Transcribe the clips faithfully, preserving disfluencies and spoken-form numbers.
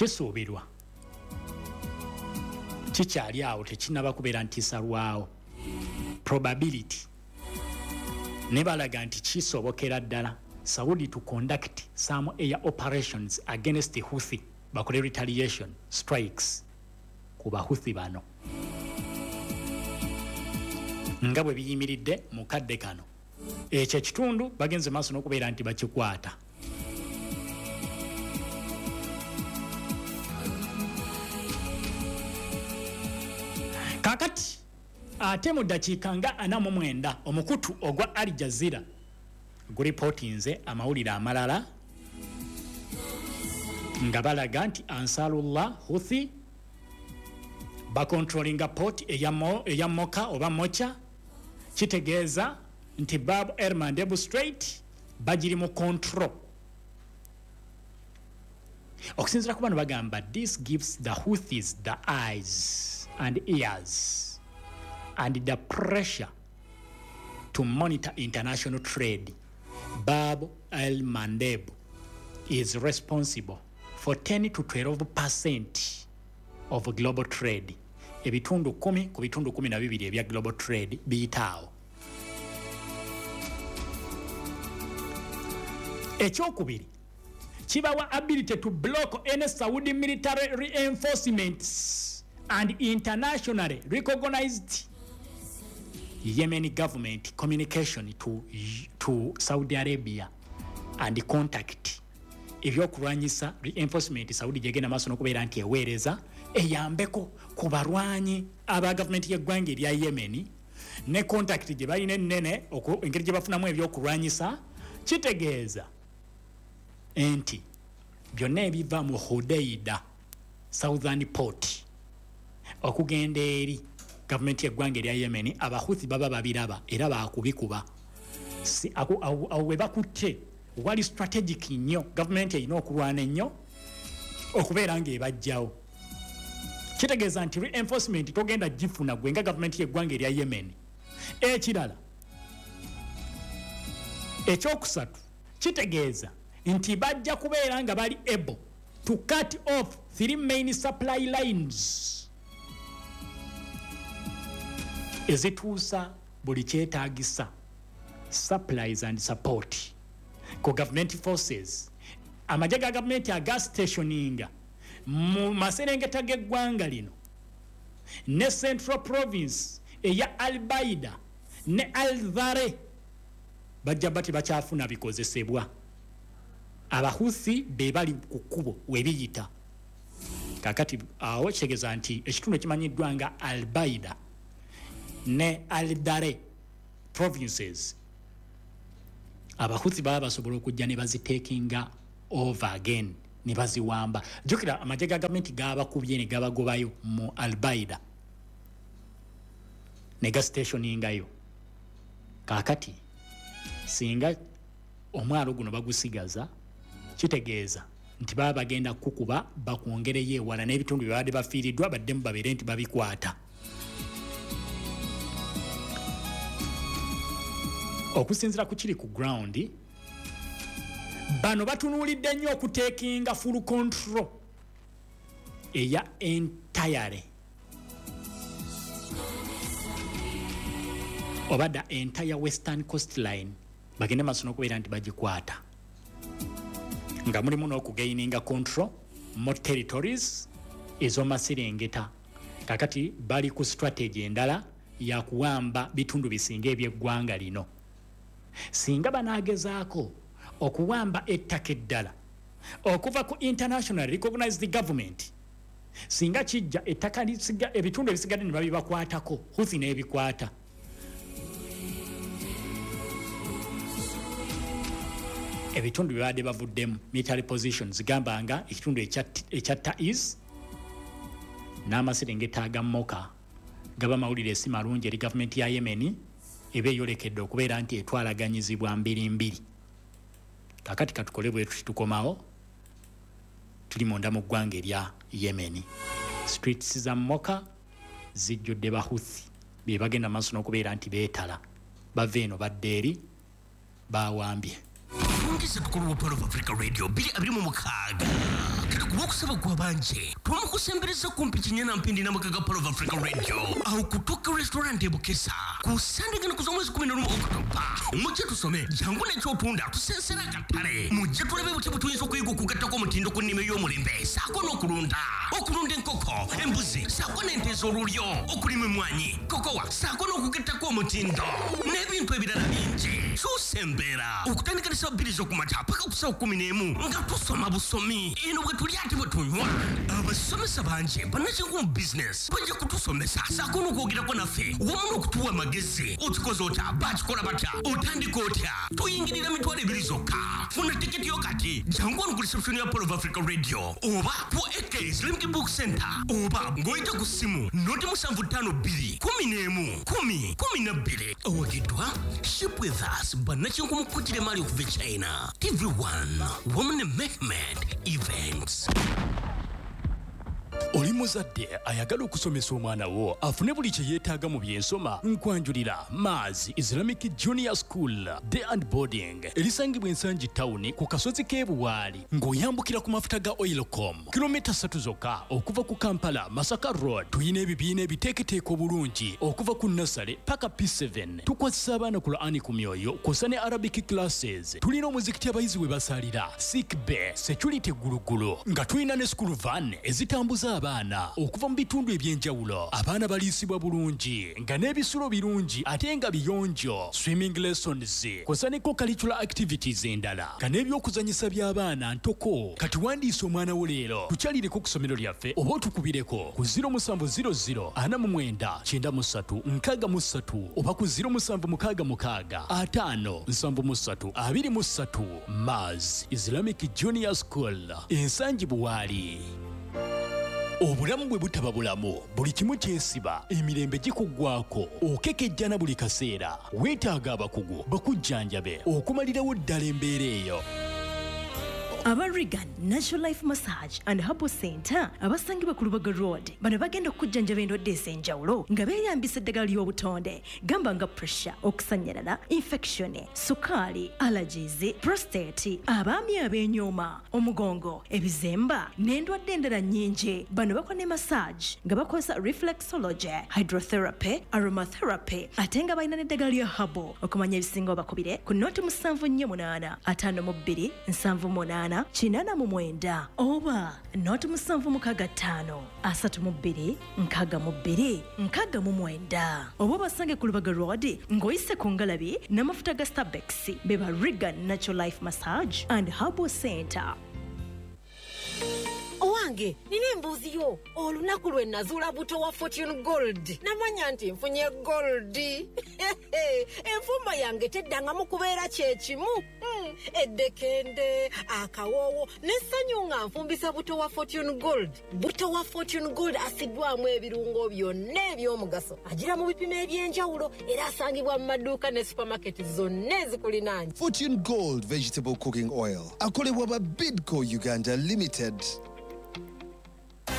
Kisuubirwa kikyali awo, tekinnaba kubeera nti kisalwawo, probability ne balaga nti kisobokera ddala Saudi to conduct some air operations against the Houthi, bakole retaliation strikes ku Bahuthi bano nga bwe biyimiridde mu kadde kano. Ekyo ekitundu bagenze maaso n'okubeera nti bakikwata. Kakati ate mu ddakiika nga ana mu mwenda, omukutu ogwa Al Jazeera guripootinze amawulire amalala nga balaga nti Ansarullah Houthi bakontrolinga port eya Moka oba Mocha. Kitegeeza nti Bab el Mandeb Strait bagiri mu control. Okusinziira ku bano, bagamba this gives the Houthis the eyes and ears and the pressure to monitor international trade. Bab el Mandeb is responsible for ten to twelve percent of global trade. Ebitundu kumi ku bitundu kumi na bibiri ebya global trade biyitaawo. Ekyokubiri, kibawa ability to block any Saudi military reinforcements and internationally recognized Yemeni government communication to, to Saudi Arabia and contact ebyokulwanyisa. Reinforcement Saudi gyegenda maaso n'okubeera nti eweereza eyambeko ku balwanyi aba gavumenti y'eggwanga erya Yemeni ne contact gye balina ennene, engeri gye bafunamu ebyokulwanyisa. Kitegeeza nti byonna ebiva mu Hudeida southern port okugenda eri gavumenti y'eggwanga erya Yemeni, Abahuthi baba babiraba era bakubikuba. Awo we bakutte wali strategic nnyo. Gavumenti erina okulwana ennyo okubeera ng'ebajjawo. Kitegeeza nti reinforcement togenda gifuna gwe nga gavumenti y'eggwanga erya Yemen. Ekirala, ekyokusatu, kitegeeza nti bajja kubeera nga bali able to cut off three main supply lines ezituusa buli kyetaagisa supplies and support ku government forces. Amagye ga gavumenti aga stationinga mu maserengeta g'eggwanga lino ne central province eya Albaida ne Alvare bajja bati bakyafuna bikozesebwa. Abahuthi be bali ku kkubo webiyita. Kakati awo kitegeeza nti ekitundu ekimanyiddwa nga Albaida ne Aldare provinces, Abahuthi baba basobola okujja ne bazitakinga over again ne baziwamba. Jjukira amagye ga gavumenti gabakubye ne gabagobayo mu Albaida ne gastationingayo. Kakati singa omwalo guno bagusigaza, kitegeeza nti baba bagenda kukuba bakwongereyo ewala n'ebitundu bye babadde bafiiriddwa, baddemu babeere nti babikwata. Okusinziira ku kiri ku ground, bano batunuulidde nnyo okutakinga full control eya entire oba the entire western coastline, bagende maaso n'okubeera nti bagikwata, nga mulimu n'okugaininga control more territories ez'omaserengeta. Kakati bali ku strategy endala yakuwamba bitundu bisinga ebyeggwanga lino. Singa banaagezaako okuwamba ettaka eddala okuva ku international recognized government, singa kijja ettaka, ebitundu ebisigadde ne babibakwatako, Huthi n'ebikwata, ebitundu byebadde bavuddemu military positions, gamba nga ekitundu ekya Taiz n'amaserengeta aga Moka, gaba mawulire si malungi eri gavumenti ya Yemeni eba eyolekedde okubeera nti etwalaganyizibwa mbiri mbiri. Kakati katukole bwe tuti, tukomawo tuli munda mu ggwanga erya Yemeni. Streets za Moka zijjudde Bahuthi be bagenda maaso n'okubeera nti beetala, bava eno badda eri, bawambye. Ngisa tukulu wa Pearl of Africa Radio bbiri abiri mu mukaaga. Kati ku lwokusaba gw'abanje twamukusembereza kumpi Kinyana Mpindi n'amaka ga Pearl of Africa Radio awo ku Tuka Restaurant e Bukesa ku Sande gano kuza omwezi kumi n'olumu Okutoba. Mujje tusome, jangu n'ekyotunda tusensera akatale. Mujje tulabe butya bwe tuyinza okuyiga okugattako omutindo ku nnima ey'omulembe ssaako n'okulunda. Okulunda enkoko, embuzi ssaako n'ente ez'olulyo, okulima emmwanyi, kokowa ssaako n'okugattako omutindo n'ebintu ebirala bingi. Kyusa embeera okutandika ne ssaawa bbiri z'okumakya paka ku ssaawa kkumi n'emu nga tusoma busomi. Eno bwe tulya ate bwe tunywa. Abasomesa bangi bannakinku mu bizinesi bajja kutusomesa ssaako n'okwogerako naffe wamu n'okutuwa amagezi. Okikoze otya? Bakikola batya? Otandika otya? Tuyingirira mitwalo ebiri zokka. Funa tiketi yo kati. Jangu wano ku reception ya Pearl of Africa Radio oba ku A K Islamic Book Center oba ng'oyita ku ssimu noti musanvu ttaano bbiri kumi n'emu kumi kumi na bbiri. Owagiddwa Ship With Us, bannakinku mu kukutira emaali okuva e China, T V one wamu ne Mehmed Events. Oli muzadde ayagala okusomesa omwana wo afune buli kye yeetaaga mu byensoma? Nkwanjulira Mars Islamic Junior School Day and Boarding erisangibwa Ensangi Tawuni ku kasozi k'e Buwaali ng'oyambukira ku mafuta ga Oilcom, kilomita ssatu zokka okuva ku Kampala Masaka Road. Tuyina ebibiina ebiteeketeeka obulungi okuva ku nursery paka P seven. Tukwasisa abaana Qur'ani ku myoyo kw'ossa ne Arabic classes. Tulina omuzikiti abayizi we basalira, sick bay, security gulugulu, nga tulina ne school van ezitambuza abaana okuva mu bitundu ebyenjawulo. Abaana baliisibwa bulungi nga n'ebisulo birungi ate nga biyonjo, swimming lessons kw'ossa ne co-curricular activities endala nga n'ebyokuzanyisa by'abaana ntoko. Kati wandiisa omwana wo leero, tukyalireko ku ssomero lyaffe oba otukubireko ku zero musanvu zero zero ana mu mwenda kyenda mu ssatu nkaaga mu ssatu oba ku zero musanvu mukaaga mukaaga ataano nsanvu mu ssatu abiri mu ssatu. Mars Islamic Junior School, Ensangi Buwaali. Obulamu bwe butaba bulamu, buli kimu kyesiba, emirembe gikuggwako, okekejjana buli kaseera. Weetaaga abakugu bakujjanjabe okumalirawo ddala embeera eyo. Aba Regan Natural Life Massage and Herbal Center abasangibwa ku Lubaga Road, bano bagenda okujjanjaba endwadde ez'enjawulo nga beeyambisa eddagala ly'obutonde, gamba nga pressure, okusanyalala, infection, sukaali, allergies, prostate, abaami ab'enyooma, omugongo, ebizemba n'endwadde endala nnyingi. Bano bakola ne massage nga bakozesa reflexology, hydrotherapy, aromatherapy, ate nga balina n'eddagala lya herbal. Okumanya ebisingawo bakubire ku noti musanvu nnyo munaana ataano mu bbiri nsanvu munaana kinaana mu mwenda oba noti musanvu mukaaga ttaano asatu mu bbiri nkaaga mu bbiri nkaaga mu mwenda, oba obasange ku Lubaga Road ng'oyise ku ngalabi n'amafuta ga Starbex. Beba Regan Natural Life Massage and Herbal Center. Owange, nina embuuzi yo. Olunaku lwe nazuula buto wa Fortune Gold, namanya nti nfunye gold. Enfumba yange teddangamu kubeera kyekimu. Hmm, eddekende, akawoowo n'essanyu nga nfumbisa buto wa Fortune Gold. Buto wa Fortune Gold asiddwamu ebirungo byonna eby'omugaso, agira mu bipimo eby'enjawulo era asangibwa mu maduuka ne supamaketi zonna ezikulinaanye. Fortune Gold Vegetable Cooking Oil akolebwa ba Bidco Uganda Limited.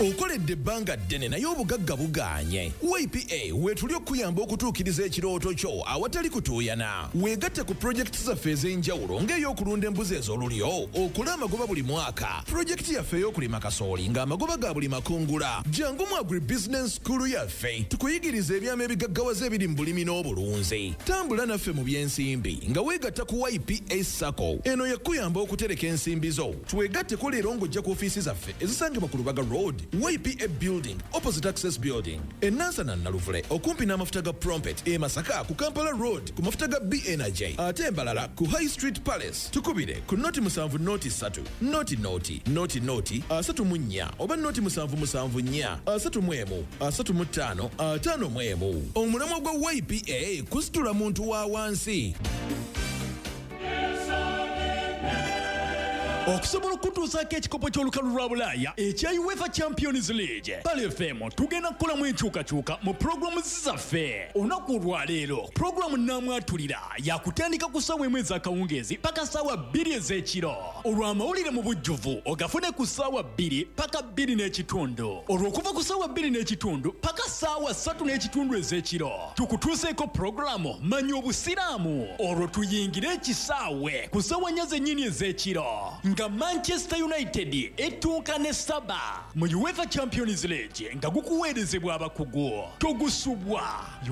Okoledde ebbanga ddene naye obugagga bugaanye? Y P A weetuli okuyamba okutuukiriza ekirooto kyo awatali kutuuyana. Weegatte ku pulojekiti zaffe ez'enjawulo ng'ey'okulunda embuzi ez'olulyo okole amagoba buli mwaka, pulojekiti yaffe ey'okulima kasooli ng'amagoba ga buli makungula. Jangu mu Agribusiness School yaffe tukuyigiriza ebyama ebigaggawaza ebiri mu bulimi n'obulunzi. Tambula naffe mu by'ensimbi nga weegatta ku Y P A SACCO. Eno yakuyamba okutereka ensimbi zo. Twegatteko leero ng'ojja ku ofiisi zaffe ezisangibwa ku Lubaga Road, Y P A Building, opposite Access Building, e Nansana Naluvule okumpi n'amafuta ga Prompet, e Masaka ku Kampala Road ku mafuta ga B N J, ate embalala ku High Street Palace. Tukubire ku noti musanvu noti ssatu noti noti noti noti asatu mu nnya oba noti musanvu musanvu nnya asatu mu emu asatu mu ttaano ataano mu emu. Omulamwa gwa Y P A kusitula muntu wa wansi. Okusobola okutuusaako ekikopo ky'olukalu lwa Bulaaya ekya UEFA Champions League, Pearl F M tugenda kukolamu enkyukakyuka mu pulogulaamu zaffe. Olunaku olwaleero pulogulaamu Naamwatulira yakutandika ku ssaawa emu ez'akawungeezi paka ssaawa bbiri ez'ekiro. Olw'amawulire mu bujjuvu ogafune ku ssaawa bbiri paka bbiri n'ekitundu. Olw'okuva ku ssaawa bbiri n'ekitundu paka ssaawa ssatu n'ekitundu ez'ekiro tukutuuseeko pulogulaamu Manya Obusiraamu. Olwo tuyingire ekisaawe ku ssaawa nnya zennyini ez'ekiro. Nga Manchester United etuuka ne Saba mu UEFA Champions League, nga gukuweerezebwa abakugu, togusubwa.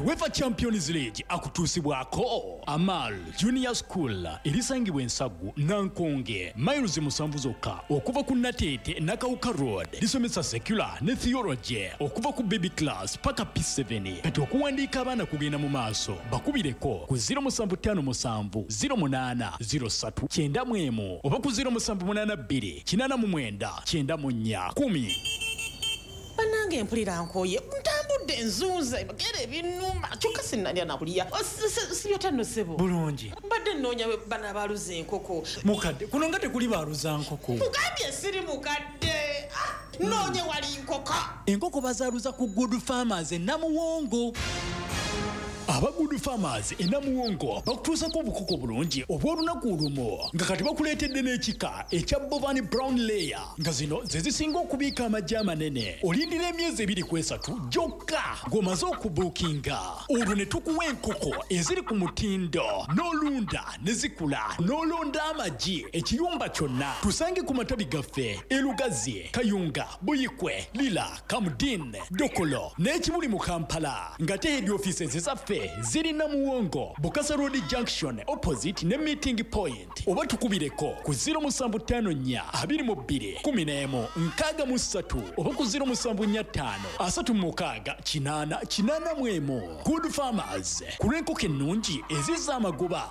UEFA Champions League akutuusibwako Amal Junior School, erisangibwa Ensagu Nankonge, miles musanvu zokka okuva ku Nateete Nakawuka Road. Lisomesa secular ne theology okuva ku baby class paka P seven. Kati okuwandiika abaana kugenda mu maaso. Bakubireko ku zero musanvu ttaano musanvu zero munaana zero ssatu kyenda mu emu oba ku zero musanvu munaana bbiri kinaana mu mwenda kyenda mu nnya kkumi. Bannange, mpulira nkooye, ntambudde nzunze gera ebinuma, kyokka sinnalya nakulya. Sibyota nno, ssebo? Bulungi. Mbadde nnoonya bano abaaluza enkoko. Mukadde, kuno nga tekuli baaluza nkoko. Mugambye siri mukadde. Ah, noonye wali nkoko. Enkoko bazaaluza ku Good Farmers e Namuwongo. Aba Good Farmers e Namuwongo bakutuusako obukoko bulungi obw'olunaku olumu, nga kati bakuleetedde n'ekika ekya Bovan Brown Layer, nga zino ze zisinga okubiika amagi amanene. Olindira emyezi ebiri ku esatu gyokka ng'omaze okubuukinga, olwo ne tukuwa enkoko eziri ku mutindo, n'olunda ne zikula, n'olonda amagi ekiyumba kyonna. Tusange ku matabi gaffe e Lugazi, Kayunga, Buyikwe, Lira, Kamdin, Dokolo n'Ekibuli mu Kampala, nga te head offices zaffe ziri Namuwongo, Bukasa Road Junction, opposite ne Meeting Point, oba tukubireko ku zero musanvu ttaano nnya abiri mu bbiri kkumi n'emu nkaaga mu ssatu oba ku zero musanvu nnya ttaano asatu mu mukaaga kinaana kinaana mu emu. Good Farmers, ku lw'enkoko ennungi ezizza amagoba.